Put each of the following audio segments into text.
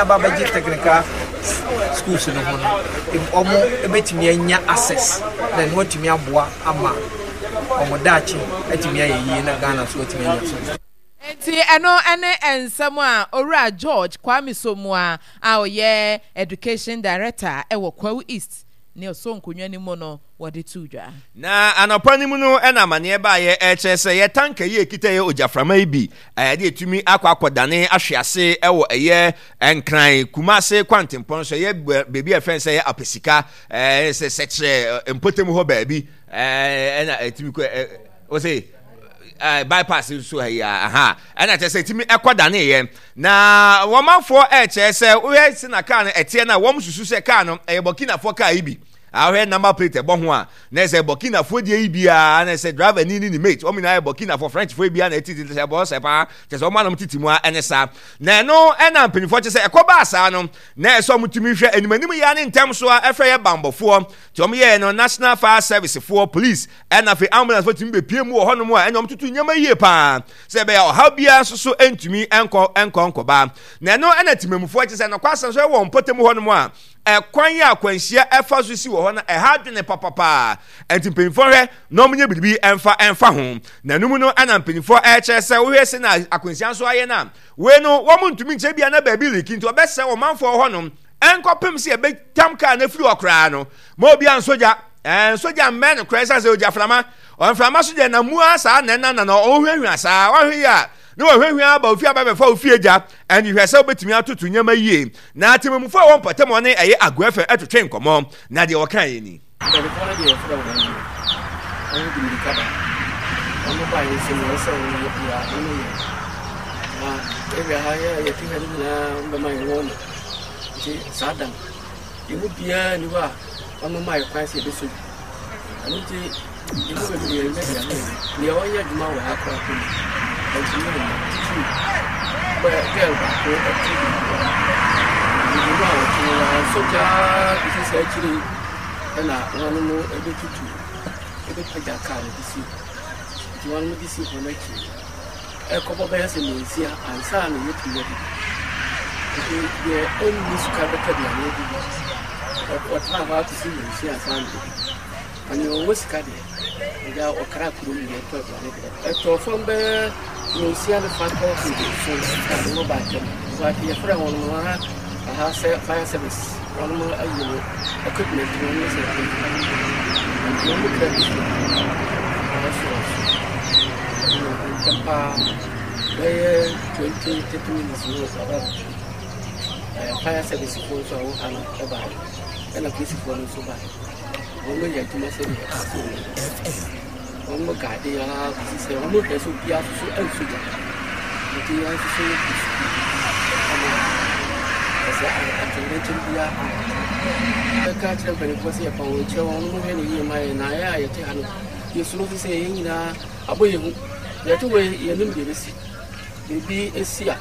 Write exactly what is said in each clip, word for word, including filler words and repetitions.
aba abɛgye technical schools no ho no, wɔn bɛtumi anya access na ɛno atumi aboa ama wɔn daakye atumi ayɛ yie na Ghana nso atumi anya so. Enti ɛno ne nsɛm a Owura George Kwame Somoa a ɔyɛ Education Director wɔ Kwahu East ne ɔsɔ nkonnwa no mu no wɔde too dwa. Na anɔpa no mu no na amaneɛ baeɛ ɛkyerɛ sɛ yɛ tanka yi a ɛkita yɛ ogyaframa yi bi ɛde ɛtumi akɔ akɔdane ahwe ase ɛwɔ ɛyɛ Nkran Kumase kwantempɔn so, ɛyɛ baabi a ɛfɛn sɛ ɛyɛ Apɛsika ɛɛ sɛ sɛkyerɛ mpɔtam hɔ baabi ɛna ɛtumi kɔ ɛ ɔsɛ bypass nso ha yi aha ɛna kyerɛ sɛ ɛtumi ɛkɔ daneeɛ. Na wɔmanfoɔ ɛkyerɛ sɛ wohwɛ sɛ na kaa no ɛteɛ no a, wɔn susu sɛ kaa no ɛyɛ Burkinafoɔ kaa yi bi. Ahwɛ number plate ɛbɔ ho a, na ɛsɛ Burkinafoɔ deɛ yi biara, na ɛsɛ driver ni ne ne mate wɔn nyinaa yɛ Burkinafoɔ, Frenchfoɔ yi biara na ɛtiti sɛ ɛbɔ sɛ paa kyerɛ sɛ wɔn anam titi mu a ɛne saa. Na ɛno ɛna mpanimfoɔ kyerɛ sɛ ɛkɔ baa saa no, na ɛsɛ wɔn tumi hwɛ anim anim yɛ ne ntɛm so a ɛfrɛ yɛ bambɔfoɔ nti wɔn yɛɛ no National Fire Service foɔ, police, ɛna afei ambulance foɔ tumi bepie mu wɔ hɔnom a ɛna wɔn tutu nneɛma yie paa sɛ ɛbɛyɛ ɔhaw biara nso so ntumi nkɔ nkɔ nkɔba. Na ɛno ɛna temamufoɔ kyerɛ sɛ nɔkwa asɛm so ɛwɔ mpɔtam hɔnom a ɛkwan yi a akwanhyia ɛfa so si wɔ hɔ no ɛha adwene papapaa. Ɛnti mpanyinfoɔ hwɛ na wɔn nyɛ biribi ɛnfa ɛnfa ho. Na ɛno mu no ɛna mpanyinfoɔ ɛkyerɛ sɛ wohwɛ sɛ na akwanhyia nso ayɛ no a, wei no wɔn ntumi nkyerɛ bia na baabi liki nti ɔbɛsɛ ɔmanfoɔ hɔnom ɛnkɔpem sɛ yɛbɛtam kaa no afiri hɔ koraa no ma obi ansɔ gya. Ɛɛ nsɔ gya mmɛn no koraa ɛsiane sɛ ogya frama ɔmframa so deɛ na mu ara saa na ɛna na na ɔhwehwɛ saa ɔhwɛ yi a na wɔhwehwɛ aba ofie aba bɛfa ofie gya. Ɛne hwɛ sɛ wobɛtumi atoto nneɛma yie. Na atemamufoɔ a wɔn mpɔtam ɔne ɛyɛ Agoa F M ɛtwetwe nkɔmmɔ, na deɛ wɔka yɛ ni. Mpanimfoɔ no deɛ yɛfrɛ wɔn no, wɔn de mmirika ba. Wɔn ba yɛ sɛ nea ɛsɛ wɔn yɛ biara wɔn yɛ. Na area ha yɛ a yɛte ha no nyinaa wɔn bɛma yɛn wɔn no. Nti saa da no, yɛn mu biara nni hɔ a wɔn ma yɛ kwan sɛ yɛbɛsɔ bi. Ɛno nti yɛn mu bebree yɛn bɛdi ano. Nea ɔnyɛ adwuma wɔ ha koraa po no, ɔntumi amma. Titiriw, bɛ girl baako ɔte bi. Biribi mu a ɔte no, wansɔ gyaa kɔsi saa akyire yi ɛna wɔn mo ɛbɛtutu, ɛbɛpagya kaa no de si hɔ. Nti wɔn mo de si hɔ no akyi, ɛkɔbɔ bɛyɛ sɛ nnansia ansa na yɛtumi adidi. Nti deɛ ɔnni sika bɛtɔ aduane adidi, ɔtena hɔ akɔsi nnansia ansa na adidi. Na nea ɔwɔ sika deɛ, agya ɔkra kurom deɛ ɛtɔ aduane deɛ. Ɛtɔɔ fam bɛyɛ nnansia ne fa kɔ nson na wɔn baa ntɛm. But yɛfrɛ wɔn no ha aha sɛ fire service wɔn mo ayi no equipment no ne sɛ nti wɔn kura bi so ɛso so ntɛm paa bɛyɛ twenty thirty minutes no aba fire service foɔ nso a wɔn ha no ɛbaeɛ ɛna polisifoɔ no nso baeɛ. Wɔn yɛ adwuma sɛdeɛ ɛsɛ wɔn wɔn gaade ara kɔsi sɛ wɔn hwɛ sɛ obiara nso so nso gya. Nti yɛn nso so yɛ sukuu ama ɛsɛ atɛnkyɛm biara ama. Bɛka akyerɛ mpanimfoɔ sɛ yɛpa wɔn kyerɛ wɔn wɔn hwɛ ne yie ma yɛn, na yɛn a yɛte ha no yɛsuro fi sɛ yɛn nyinaa abɔ yɛn hu. Yɛte wɔ yɛnim deɛ ɛbɛsi. Biribi esi a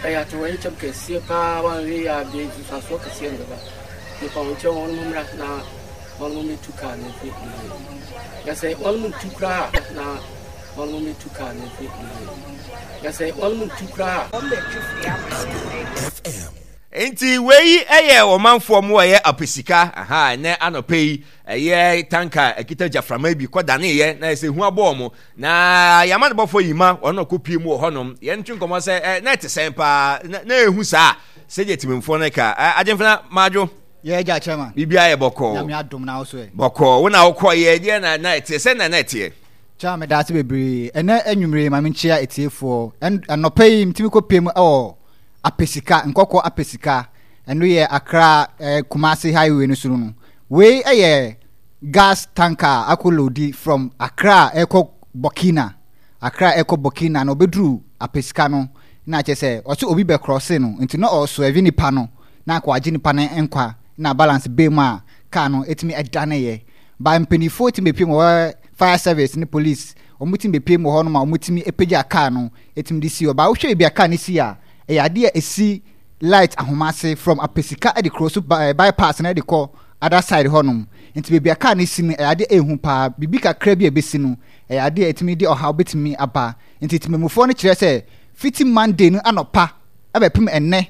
ɛyɛ atɛnkyɛm kɛseɛ paa, wɔanhwɛ yie a deɛ nsusuasoɔ kɛseɛ na ɛbɛba. Yɛpa wɔn kyerɛ wɔn mmra na wɔn mmɛtu kaa no mfiri nneɛma. Na sɛ wɔn ntu koraa na wɔn mmɛtu kaa no mfiri nneɛma. Na sɛ wɔn ntu koraa. Nti wei ɛyɛ ɔmanfoɔ mu ɛyɛ apesika aha ɛnɛ anɔpɛ yi ɛyɛ tanka ɛkita gyaframa bi kɔ daneeɛ na ɛsɛ hu abɔɔ mo na yɛama no bɔfoɔ yi ma wɔn ɔkɔ pie mu wɔ hɔnom yɛn ntwe nkɔmɔ sɛ ɛ na ɛte sɛn paa na na ehu saa sɛdeɛ tìmɛnfoɔ no ka ɛ agyemfena maadwo. Yɛ agya chairman. Biribiara yɛ bɔkɔɔ. Nyame adom na wo so ɛ. Bɔkɔɔ wo na wokɔ yɛ deɛ na na ɛteɛ sɛ na na ɛteɛ. Chairman meda ase bebree ɛnɛ anwummere ma menkyia atiefoɔ anɔpa yi metumi kɔ pie mu ɛwɔ Apesika Nkɔkɔ Apesika ɛno yɛ Accra eh, Kumasi highway no so no. Wei ɛyɛ gas tanker a akɔ loadi from Accra ɛkɔ Burkina. Accra ɛkɔ Burkina na ɔbɛduru Apesika no na kyerɛ sɛ ɔsɛ obi bɛkrɔse no nti na ɔsɔɛve nipa no na akɔ agye nipa no nkwa na balance bɛɛ mu a kaa no ɛtumi ɛdaneeɛ. Ba mpanimfoɔ tumi bɛpie mu wɔ fire service ne police wɔn tumi bɛpie mu wɔ hɔ nom a wɔn tumi apagya kaa no ɛtumi de si hɔ. Ba wohwɛ baabi a kaa no si a ɛyɛ adeɛ a ɛsi light ahoma ase from Apesika de kuro so bypass na de kɔ other side hɔ nom. Nti baabi a kaa no si no ɛyɛ adeɛ a ɛhu paa. Biribi kakra bi a ɛbɛsi no ɛyɛ adeɛ a ɛtumi de ɔhaw bɛtumi aba. Nti temamufoɔ no kyerɛ sɛ fiti Monday no anɔpa ɛbɛpem ɛnnɛ